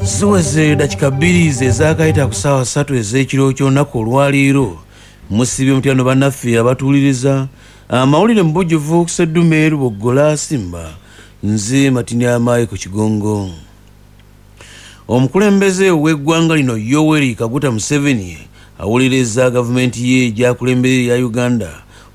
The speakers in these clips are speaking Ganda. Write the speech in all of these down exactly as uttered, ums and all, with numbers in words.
Ziweze dakika bbiri ze zaakayita ku ssaawa ssatu ez'ekiro ky'olunaku olwaleero. Musibye mutyano bannaffe abatuwuliriza amawulire mu bujjuvu ku Sseddume Luboggola Simba. Nze Matini Amaayi ku Kigongo. Omukulembeze w'eggwanga lino Yoweri Kaguta Museveni awuliriza gavumenti ye gy'akulembera eya Uganda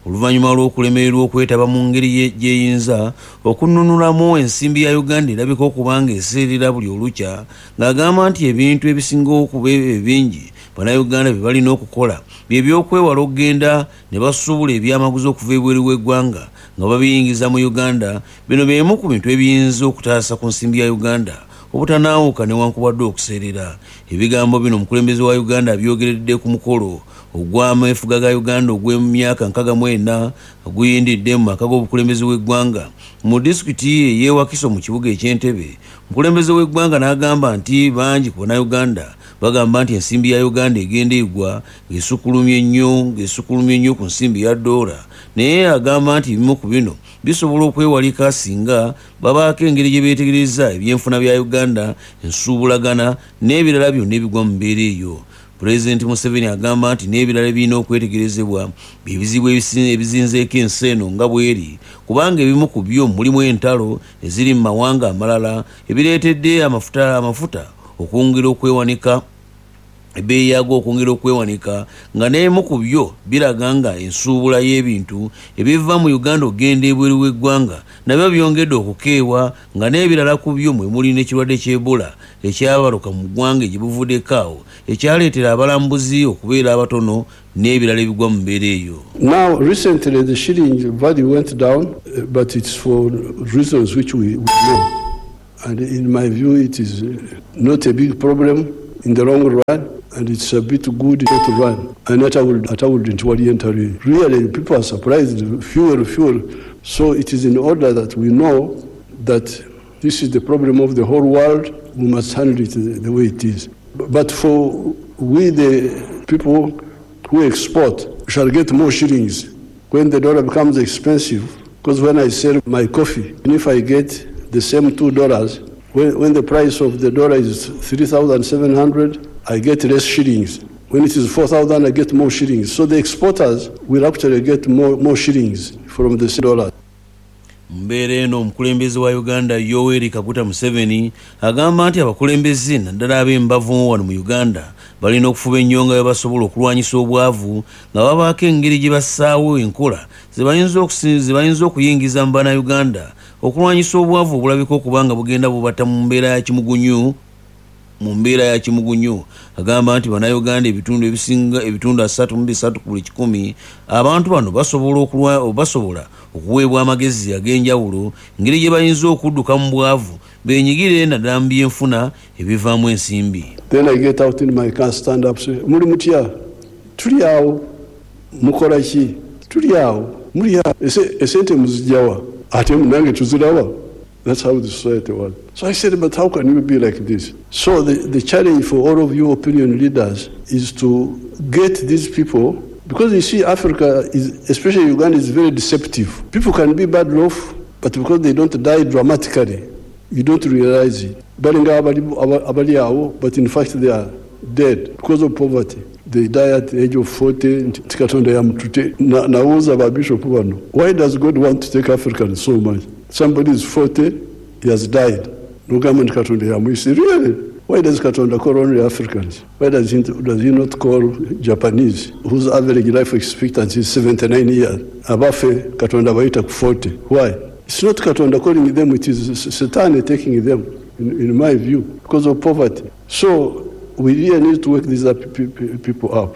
oluvannyuma lw'okulemererwa okwetaba mu ngeri gy'eyinza okununulamu ensimbi ya Uganda erabika okuba nga eseerera buli olukya, ng'agamba nti ebintu ebisinga okuba ebingi Bannayuganda bye balina okukola bye by'okwewala okugenda ne basuubula ebyamaguzi okuva ebweru w'eggwanga nga babiyingiza mu Uganda. Bino byemu ku bintu ebiyinza okutaasa ku nsimbi ya Uganda obutanaawuka newankubadde okuseerera. Ebigambo bino omukulembeze wa Uganda abyogeredde ku mukolo ogw'ameefuga ga Uganda ogw'emyaka nkaaga mu ena oguyindidde mu maka g'obukulembeze w'eggwanga mu disitulikiti ey'e Wakiso mu kibuga eky'Entebbe. Omukulembeze w'eggwanga n'agamba nti bangi ku Bannayuganda bagamba nti ensimbi ya Uganda egenda egwa ng'esukkulumye nnyo ng'esukkulumye nnyo ku nsimbi ya ddoola, naye agamba nti ebimu ku bino bisobola okwewalika singa babaako engeri gye beetegereza ebyenfuna bya Uganda, ensuubulagana n'ebirala byonna ebigwa mu mbeera eyo. Pulezidenti Museveni agamba nti n'ebirala ebirina okwetegerezebwa bye bizibu ebizinzeeko ensi eno nga bw'eri, kubanga ebimu ku byo mulimu entalo eziri mu mawanga amalala ebireetedde amafuta amafuta okwongera okwewanika, ebbeeyi yaago okwongera okwewanika, nga n'ebimu ku byo biraga nga ensuubula y'ebintu ebiva mu Uganda okugenda ebweru w'eggwanga nabyo byongedde okukeewa, nga n'ebirala ku byo mwe muli n'ekirwadde ky'Ebola ekyabaluka mu ggwanga gye buvuddeko awo ekyaleetera abalambuzi okubeera abatono n'ebirala ebigwa mu mbeera eyo. Now, recently the shilling value went down, uh, but it's for reasons which we, we know. And in my view, it is uh, not a big problem in the long run, and it's a bit good in the short run. And that I would, that I wouldn't worry entirely. Really, people are surprised, fuel, fuel. So it is in order that we know that this is the problem of the whole world. We must handle it the, the way it is. But for we, the people who export, shall get more shillings when the dollar becomes expensive. Because when I sell my coffee, and if I get the same two dollars, when, when the price of the dollar is three thousand seven hundred, I get less shillings. When it is four thousand, I get more shillings. So the exporters will actually get more, more shillings from the dollar. Mu mbeera eno, omukulembeze wa Uganda Yoweri Kaguta Museveni agamba nti abakulembeze naddala ab'embavu wano mu Uganda balina okufuba ennyo nga bwe basobola okulwanyisa obwavu, nga babaako engeri gye bassaawo enkola ze bayinza okuyingiza mu Bannayuganda okulwanyisa obwavu obulabika okuba nga bugenda bubatta mu mbeera ya kimugunyu mu mbeera ya kimugunyu. Agamba nti Bannayuganda ebitundu ebisinga, ebitundu asatu mu bisatu ku buli kikumi, abantu bano basobola okulwa basobola okuweebwa amagezi ag'enjawulo engeri gye bayinza okudduka mu bwavu beenyigire naddala mu byenfuna ebivaamu ensimbi. Then I get out in my car, stand up, say, "Muli mutya? Tuli awo. Mukola ki? Tuli awo. Muli awo. Esente muzijjawa? Ate nange tuziraba." That's how the society was. So I said, "But how can you be like this?" So the, the challenge for all of you opinion leaders is to get these people, because you see, Africa, is, especially Uganda, is very deceptive. People can be bad off, but because they don't die dramatically, you don't realize it. Balinga abali awo, but in fact they are dead because of poverty. They die at the age of forty. Nti Katonda yamututte. Nawuuza ba bishop bano, why does God want to take Africans so much? Somebody is forty, he has died. Nogamba nti Katonda yamuyise. Really? Why does Katonda call only Africans? Why does he, does he not call Japanese, whose average life expectancy is seventy-nine years? Abaffe Katonda bayita ku forty. Why? It's not Katonda calling them, it is Satan taking them, in, in my view, because of poverty. So we really need to wake these up, people up.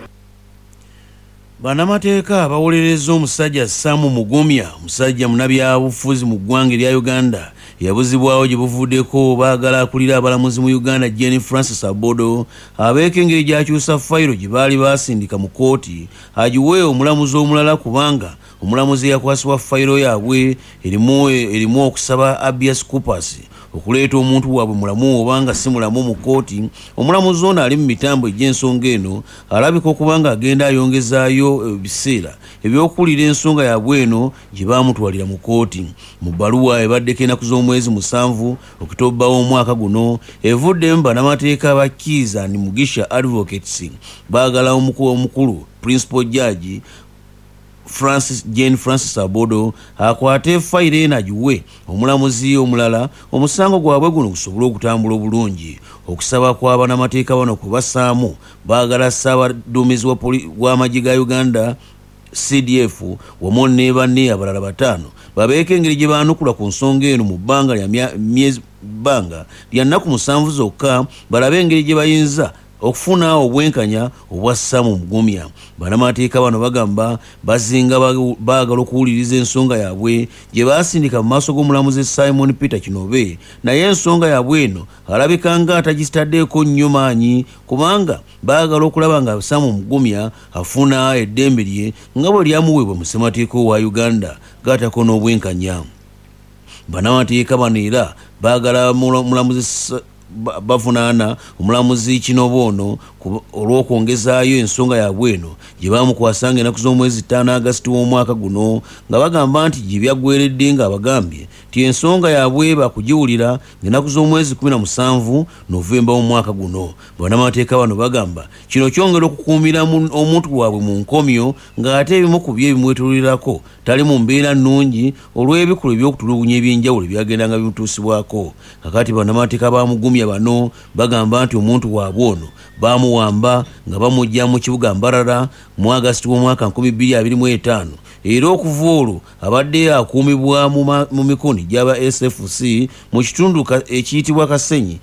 Bannamateeka bawolerezza omusajja Sam Mugumya, omusajja munnabyabufuzi mu ggwanga erya Uganda yabuzibwawo gye buvuddeko. Baagala akulira abalamuzi mu Uganda Jane Francis Abodo abeeko engeri gy'akyusa fayiro gye baali basindika mu kkooti agiwe omulamuzi omulala, kubanga omulamuzi eyakwasibwa fayiro yaabwe erimu erimu okusaba habeas corpus okuleeta omuntu waabwe mulamu obanga si mulamu mu kkooti. Omulamuzi ono ali mu mitambo egy'ensonga eno alabika okuba nga agenda ayongezaayo ebiseera ebyokuwulira ensonga yaabwe eno gye baamutwalira mu kkooti. Mu bbaluwa ebaddeko ennaku z'omwezi musanvu Okitoba w'omwaka guno evuddemu bannamateeka ba Kiiza and Mugisha Advocates baagala omukulu Principal Judge Francis Jane Francis Abodo akwate fayiro eno agiwe omulamuzi omulala omusango gwabwe guno gusobole okutambula obulungi. Okusaba kwa bannamateeka bano kwe bassaamu baagala ssaabaduumizi w'amagye ga Uganda C D F wamu ne banne abalala bataano babeeko engeri gye baanukula ku nsonga eno mu bbanga lya myezi bbanga lya nnaku musanvu zokka balabe engeri gye bayinza okufuna obwenkanya obwa Sam Mugumya. Bannamateeka bano bagamba bazinga baagala okuwuliriza ensonga yaabwe gye baasindika mu maaso g'omulamuzi Simon Peter Kinobe, naye ensonga yaabwe eno alabika nga atagitaddeeko nnyo maanyi kubanga baagala okulaba nga Sam Mugumya afuna eddembe lye nga bwe lyamuweebwa mu ssemateeka wa Uganda gattako n'obwenkanya. Bannamateeka bano era baagala mulamuzi bavunaana omulamuzi Kinobe ono olw'okwongezaayo ensonga yaabwe eno gye baamukwasanga ennaku z'omwezi ttaano Agasiti w'omwaka guno nga bagamba nti gye byaggweredde nga abagambye nti ensonga yaabwe bakugiwulira ng'ennaku z'omwezi kkumi na musanvu Novemba w'omwaka guno. Bannamateeka bano bagamba kino kyongera okukuumira omuntu waabwe mu nkomyo ng'ate ebimu ku byo ebimwetoololerako tali mu mbeera nnungi olw'ebikolwa eby'okutulugunya eby'enjawulo ebyagendanga bimutuusibwako. Kakati bannamateeka ba Mugumya bano bagamba nti omuntu waabwe ono baamuwamba nga bamuggya mu kibuga Mbarara mu Agasiti w'omwaka nkumi bbiri abiri mu etaano era okuva olwo abadde akuumibwa mu mikono gy'aba S F C mu kitundu ekiyitibwa Kasenyi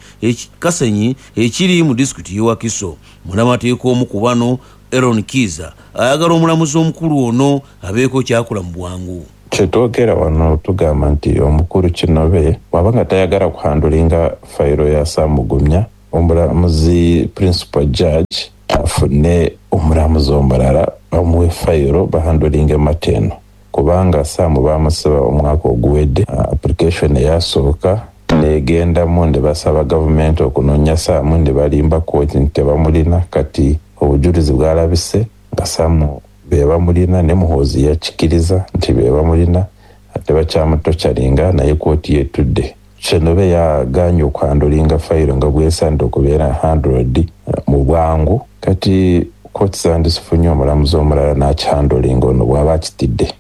Kasenyi ekiri mu disitulikiti y'e Wakiso. Munnamateeka omu ku bano Aaron Kiiza ayagala omulamuzi omukulu ono abeeko ky'akola mu bwangu. Kyetwogera wano tugamba nti omukulu Kinobe bw'aba nga tayagala kuhandulinga fayiro ya Sam Mugumya, omulamuzi Principal Judge afune omulamuzi omulala bamuwe fayiro bahandulinge mateno, kubanga Sam bamusaba omwaka oguwedde application eyasooka negendamu ne basaba gavumenti okunoonya Sam ne balimba kooti nti tebamulina. Kati obujulizi bwalabise nga Sam be bamulina ne Muhoozi yakikiriza nti be bamulina ate bakyamutokyalinga naye kooti yetudde. Kinobe yagaanye okuhandulinga fayiro nga bwesanda okubeera handled mu bwangu. Kati kooti zandisifunye omulamuzi omulala n'akihandulinga ono bw'aba akitidde.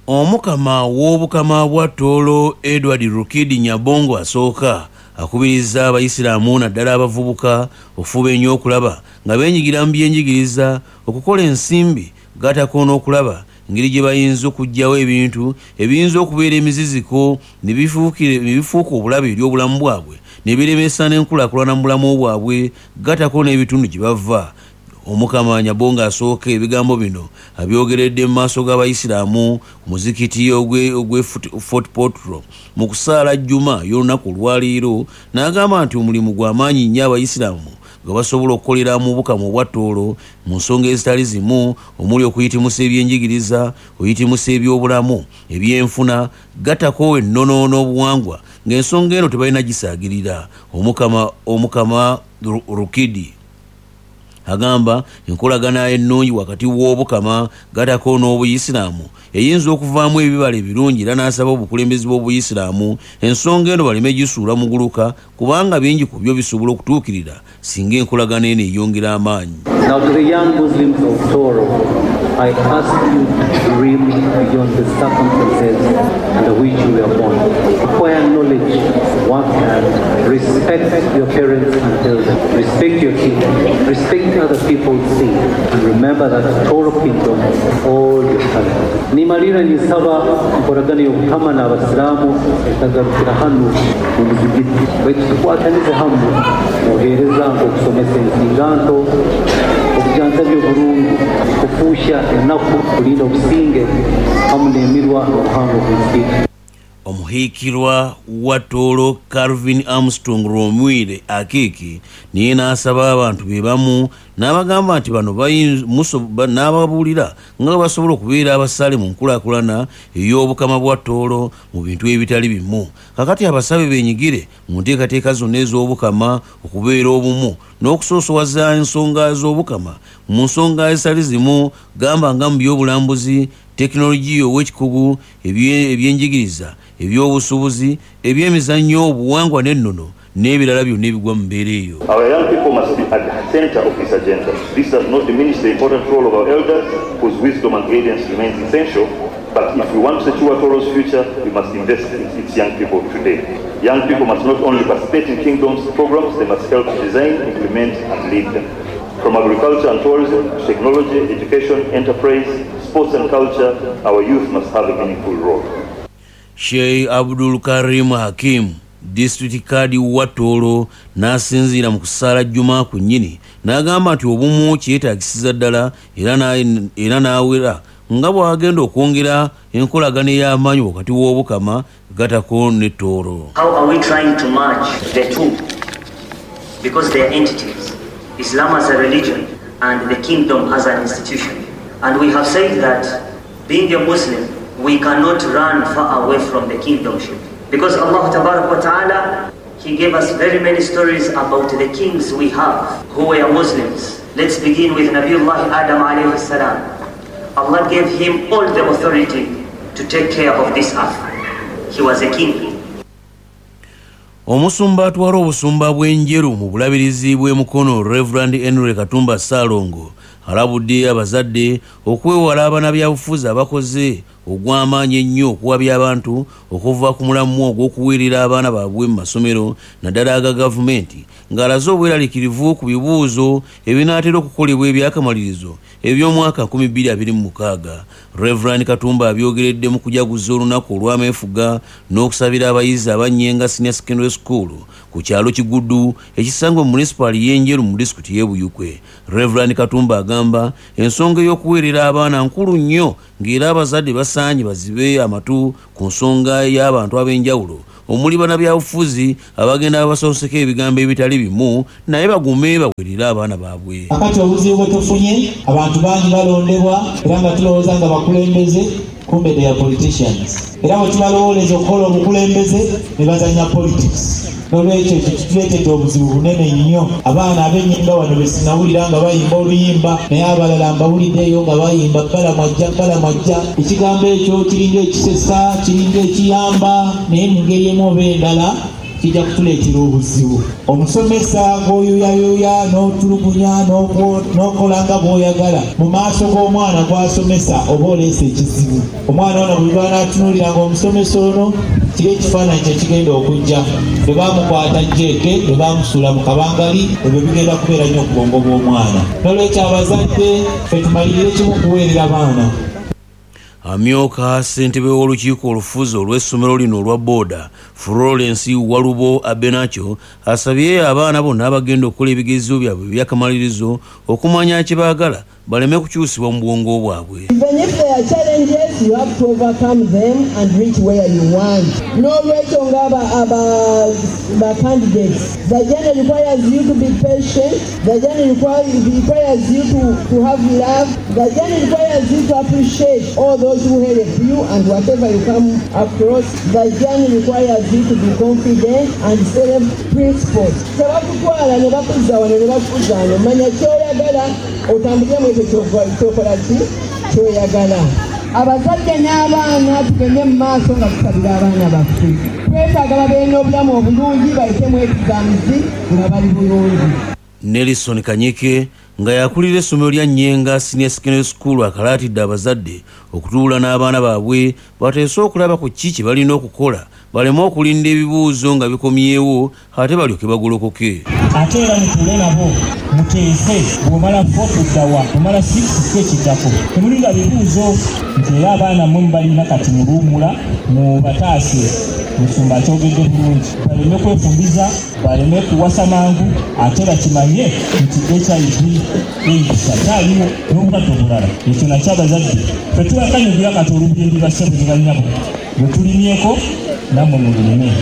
Omukama w'Obukama bwa Tooro Edward Rukidi Nyabongo asooka akubiriza Abayisiraamu naddala abavubuka okufuba ennyo okulaba nga beenyigira mu byenjigiriza, okukola ensimbi gattako n'okulaba engeri gye bayinza okuggyawo ebintu ebiyinza okubeera emiziziko ne bifuuka obulabe eri obulamu bwabwe ne biremesa n'enkulaakulana mu bulamu bwabwe gattako n'ebitundu gye bava. Omukama Nyabongo asooka ebigambo bino abyogeredde mu maaso g'Abayisiraamu ku muzikiti ogw'e Fort Portal mu kusaala Juma y'olunaku olwaleero n'agamba nti omulimu gwa maanyi nnyo Abayisiraamu nga basobola okukolera mu Bukama obwa Tooro mu nsonga ezitali zimu omuli okuyitimusa ebyenjigiriza, okuyitimusa ebyobulamu, ebyenfuna gattako ennono n'obuwangwa ng'ensonga eno tebalina gisaagirira. Omukama Omukama Rukidi agamba enkolagana ennungi wakati w'Obukama gattako n'Obuyisiraamu eyinza okuvaamu ebibala ebirungi era n'asaba obukulembeze bw'Obuyisiraamu ensonga eno baleme gisuula muguluka kubanga bingi ku byo bisobola okutuukirira singa enkolagana eno eyongera amaanyi. Now to the young Muslims of Tooro, I ask you to dream beyond the circumstances under which you were born. Acquire knowledge, work hard, respect your parents and elders, respect your king, respect other people's sin, and remember that Tooro Kingdom all your talent. Nimalira nisaba nkoragana y'Obukama n'Abasiraamu etagarukira hano mu muzigiti baitu tukwatanize hamwe muheereza okusomesa ensinganto, okujanjabya obulungi, kufuusha ennaku, kulinda obusinge hamu n'emirwa n'obuhango bw'ensi. Omuhiikirwa wa Tooro Calvin Armstrong Rwomwire Akiiki naye n'asaba abantu be bamu, n'abagamba nti bano n'ababuulira nga basobola okubeera abasaale mu nkulaakulana ey'Obukama bwa Tooro mu bintu ebitali bimu. Kakati abasabe beenyigire mu nteekateeka zonna ez'Obukama okubeera obumu n'okusoosowaza ensonga z'Obukama mu nsonga ezitali zimu, gamba nga mu by'obulambuzi, tekinologiya ow'ekikugu, ebyenjigiriza, ebyobusuubuzi, ebyemizannyo, obuwangwa n'ennono n'ebirala byonna ebigwa mu mbeera eyo. Our young people must be at the center of this agenda. This does not diminish the important role of our elders, whose wisdom and guidance remains essential, but if we want to secure Toro's future, we must invest in its young people today. Young people must not only participate in Kingdom's programs, they must help design, implement, and lead them. From agriculture and tourism to technology, education, enterprise, sports and culture, our youth must have a meaningful role. Sheikh Abdul Karim Hakim, District Kadi wa Tooro, n'asinziira mu kusaala Juma ku nnyini n'agamba nti obumu kyetaagisiza ddala, era n'awera nga bw'agenda okwongera enkolagano ey'amaanyi wakati w'Obukama gatako ne Tooro. How are we trying to merge the two? Because they are entities. Islam as a religion and the kingdom as an institution. And we have said that being a Muslim, we cannot run far away from the kingdomship. Because Allah Tabarak wa Ta'ala, He gave us very many stories about the kings we have who were Muslims. Let's begin with Nabiullah Adam alayhi salam. Allah gave him all the authority to take care of this earth. He was a king. Omusumba atwala obusumba bw'Enjeru mu bulabirizi bw'e Mukono, Reverend Henry Katumba Ssaalongo, alabudde abazadde okwewala abannabyabufuzi abakoze ogw'amaanyi ennyo okuwabya abantu okuva ku mulamu ogw'okuweerera abaana baabwe mu masomero naddala aga gavumenti, ng'alaze obweraliikirivu ku bibuuzo ebinaatera okukolebwa ebyakamalirizo eby'omwaka nkumi bbiri abiri mu mukaaga. Reverend Katumba abyogeredde mu kujaguza olunaku olw'ameefuga n'okusabira abayizi aba Nyenga Senior Secondary School ku kyalo Kigudu ekisangwa mu munisipaali y'Enjeru mu disitulikiti y'e Buyukwe. Reverend Katumba agamba ensonga ey'okuweerera abaana nkulu nnyo, ng'era abazadde basaanye bazibe amatu ku nsonga y'abantu ab'enjawulo omuli bannabyabufuzi abagenda babasonseka ebigambo ebitali bimu, naye bagume baweerere abaana baabwe. Akati obuzibu bwe tufunye, abantu bangi balondebwa era nga tulowooza nga bakulembeze, kumbe they are politicians. Era bwe tubalowooleza okukola obukulembeze ne bazannya politics. Nolwekyo ekyo kituleetedde obuzibu bunene nnyo. Abaana ab'ennyimba wano be sinawulira nga bayimba oluyimba, naye abalala mbawuliddeeyo nga bayimba balamwajja balamwajja. Ekigambo ekyo kiringa ekisesa, kiringa ekiyamba, naye mu ngeri emu oba endala kijja kutuleetera obuzibu. Omusomesa gw'oyuyayoya n'otulugunya n'okola nga bw'oyagala mu maaso g'omwana gw'asomesa, oba oleese ekizibu. Omwana ono buli lw'anaatunuulira ng'omusomesa ono, kiri ekifaananyi kye kigenda okujja. Bwe baamukwata jeeke, bwe baamusuula mu kabangali, ebyo bigenda kubeera nnyo ku bwongo bw'omwana. Nolwekyo abazadde ffe tumalirire kimu kuweerera baana. Amyuka ssentebe w'olukiiko olufuzi olw'essomero lino olwa booda, Florence Walubo Abenakyo, asabye abaana bonna abagenda okukola ebigezo byabwe ebyakamalirizo okumanya kye baagala baleme kukyusibwa mu bwongo bwabwe. Even if there are challenges, you have to overcome them and reach where you want. N'olwekyo nga aba, aba, ba candidates, the journey requires you to be patient, the journey requires, requires you to, to have love, the journey requires you to appreciate all those who help you and whatever you come across. The journey requires you to be confident and self-principled. Tebakutwala ne bakuzza wano ne bakuzza wano, manya ky'oyagala otambulire mu ekyo ky'okola ki ky'oyagala. Abazadde n'abaana tugende mu maaso nga tusabira abaana baffe. Twetaaga babeere n'obulamu obulungi, bayitemu exams nga bali bulungi. Nelson Kanyike nga yakulira essomero lya Nyenga Senior Secondary School akalaatidde abazadde okutuula n'abaana baabwe bateese okulaba ku ki kye balina okukola baleme okulinda ebibuuzo nga bikomyewo ate balyoke bagolokoke. Ate era mutuule nabo muteese, bw'omala four tuddawa, bw'omala six ki ekiddako, temulinda bibuuzo. Nti era abaana mmwe mubalina kati muluwummula mubataase. Musumba akyogedde bulungi, baleme kwefumbiza, baleme kuwasa mangu, ate bakimanye nti H I V AIDS akyaliwo n'obulwadde obulala. Ekyo nakyo abazadde ffe tubakanyugira kati olubimbi, bassebo ne bannyabo, bwe tulimyeko. Nammwe mubirime.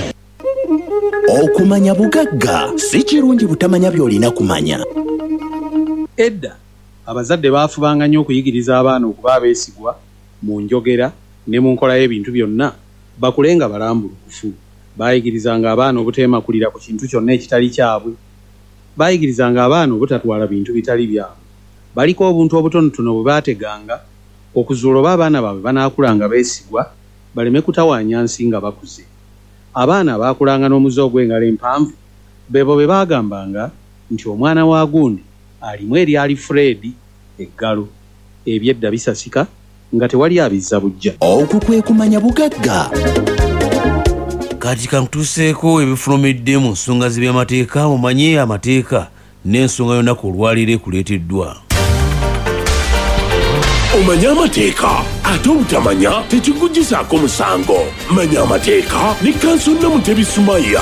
Okumanya bugagga, si kirungi butamanya by'olina kumanya. Edda abazadde baafubanga nnyo okuyigiriza abaana okuba abeesigwa mu njogera ne mu nkola y'ebintu byonna, bakule nga balambulukufu. Baayigirizanga abaana obuteemakulira ku kintu kyonna ekitali kyabwe. Baayigirizanga abaana obutatwala bintu bitali byabwe. Baliko obuntu obutonotono bwe baateganga okuzuula oba abaana baabwe banaakulanga beesigwa, baleme kutawaanya nsi nga bakuze. Abaana baakulanga n'omuze ogw'engalo empanvu, beebo be baagambanga nti omwana wa gundi alimu eryali Fred eggalo. Ebyedda bisasika nga tewali abizza bujja. Okwo kwe kumanya bugagga. Kati kantuuseeko ebifulumidde mu nsonga z'ebyamateeka, omanye amateeka n'ensonga yonna ku olwaleero ekuleeteddwa. Omanye amateeka, ate obutamanya tekikuggyisaako musango. Manya amateeka ne Kanso Namutebi Sumaya.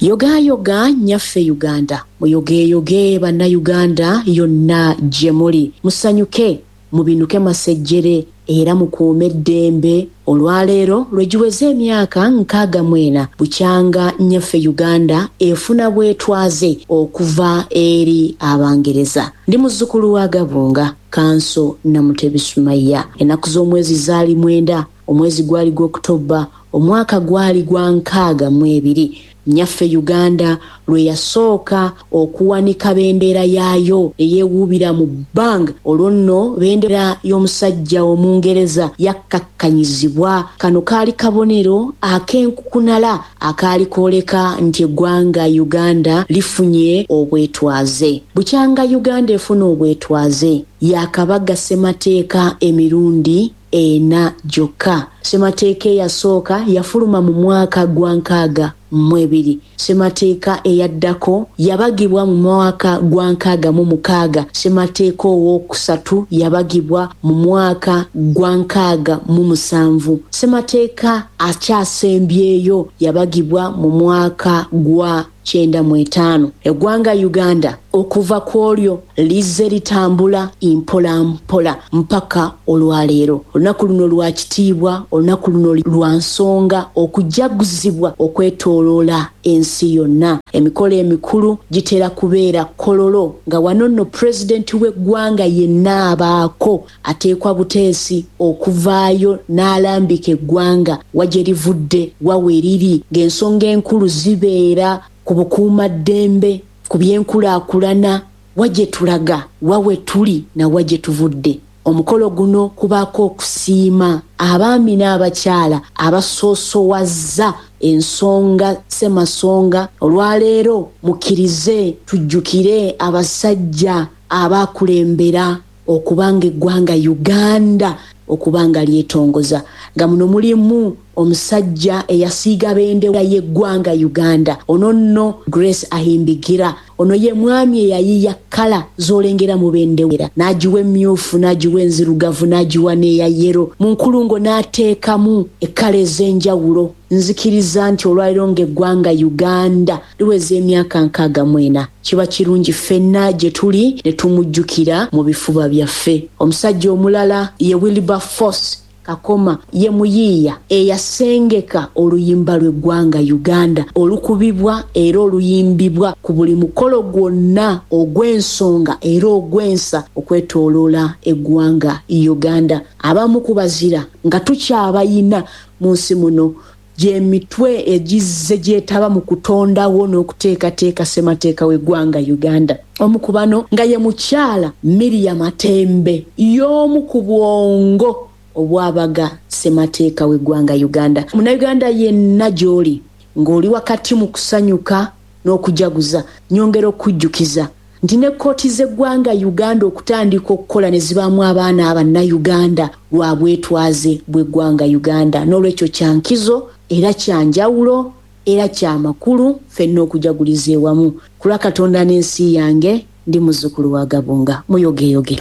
Yogayoga nnyaffe Uganda, muyogeeyoge bannayuganda yonna gye muli. Musanyuke, mubinuke masejjere era mukuume eddembe. Olwaleero lwe giweze emyaka nkaaga mu ena bukyanga nnyaffe Uganda efuna bwetwaze okuva eri Abangereza. Ndi muzzukulu wa Gabunga, Kanso Namutebi Sumaya. Ennaku z'omwezi zaali mwenda, omwezi gwali gw'Okutoba, omwaka gwali gwa nkaaga mu ebiri. Nnyaffe Uganda lwe yasooka okuwanika bendera yaayo eyeewuubira mu bbanga. Olwo nno bendera y'omusajja Omungereza yakkakkanyizibwa. Kano kaali kabonero ak'enkukunala akaali kooleka nti eggwanga Uganda lifunye obwetwaze. Bukyanga Uganda efuna obwetwaze, yakabaga ssemateeka emirundi ena gyokka. Ssemateeka eyasooka yafuluma mu mwaka gwa nkaaga mu ebiri. Ssemateeka eyaddako yabagibwa mu mwaka gwa nkaaga mu mukaaga. Ssemateeka owookusatu yabagibwa mu mwaka gwa nkaaga mu musanvu. Ssemateeka akyasembyeyo yabagibwa mu mwaka gwa kyenda mu etaano. Eggwanga Uganda okuva ku olyo lizze litambula mpola mpola mpaka olwaleero. Olunaku luno lwa kitiibwa, olunaku luno lwa nsonga okujaguzibwa okwetooloola ensi yonna. Emikolo emikulu gitera kubeera Kololo, nga wano nno pulezidenti w'eggwanga yenna abaako ateekwa buteesi okuvaayo n'alambika eggwanga wa gye livudde, wa we liri, ng'ensonga enkulu zibeera ku bukuumaddembe, ku byenkulaakulana, wa gye tulaga, wa we tuli na wa gye tuvudde. Omukolo guno kubaako okusiima abaami n'abakyala abasoosowazza ensonga ssemasonga. Olwaleero mukkirize tujjukire abasajja abakulembera okubanga eggwanga Uganda okubanga lyetongoza, nga muno mulimu omusajja eyasiiga bendera y'eggwanga Uganda, ono nno Grace Ahimbigira. Ono ye mwami eyayiiya kkala z'olengera mu bendera, n'agiwa emmyufu, n'agiwa enzirugavu, n'agiwa n'eya yero, mu nkulungo n'ateekamu ekkala ez'enjawulo. Nzikiriza nti olwaleero ng'eggwanga Uganda liweza emyaka nkaaga mu ena, kiba kirungi ffenna gye tuli ne tumujjukira mu bifuba byaffe. Omusajja omulala ye Wilberforce Kakoma, ye muyiiya eyasengeka oluyimba lw'eggwanga Uganda olukubibwa era oluyimbibwa ku buli mukolo gwonna ogw'ensonga era ogw'ensa okwetooloola eggwanga Uganda. Abamu ku bazira nga tukyabayina mu nsi muno gy'emitwe egizze gyetaba mu kutondawo n'okuteekateeka ssemateeka w'eggwanga Uganda. Omu ku bano nga ye mukyala Miriam Matembe, y'omu ku bwongo obwabaga ssemateeka w'eggwanga Uganda. Munnayuganda yenna gy'oli ng'oli wakati mu kusanyuka n'okujaguza, nyongera okujjukiza nti ne kkooti z'eggwanga Uganda okutandika okukola ne zibaamu abaana abannayuganda lwa bwetwaze bw'eggwanga Uganda. N'olwekyo kya nkizo era kya njawulo era kya makulu ffenna okujaguliza ewamu. Ku lwa Katonda n'ensi yange, ndi muzzukulu wa Gabunga. Muyogeyoge.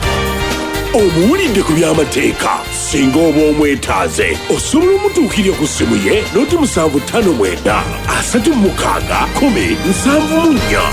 Omuwulidde ku by'amateeka, singa oba omwetaaze osobola omutuukirira ku ssimu ye noti musanvu ttaano mwenda asatu mu mukaaga kkumi nsanvu mu nnya.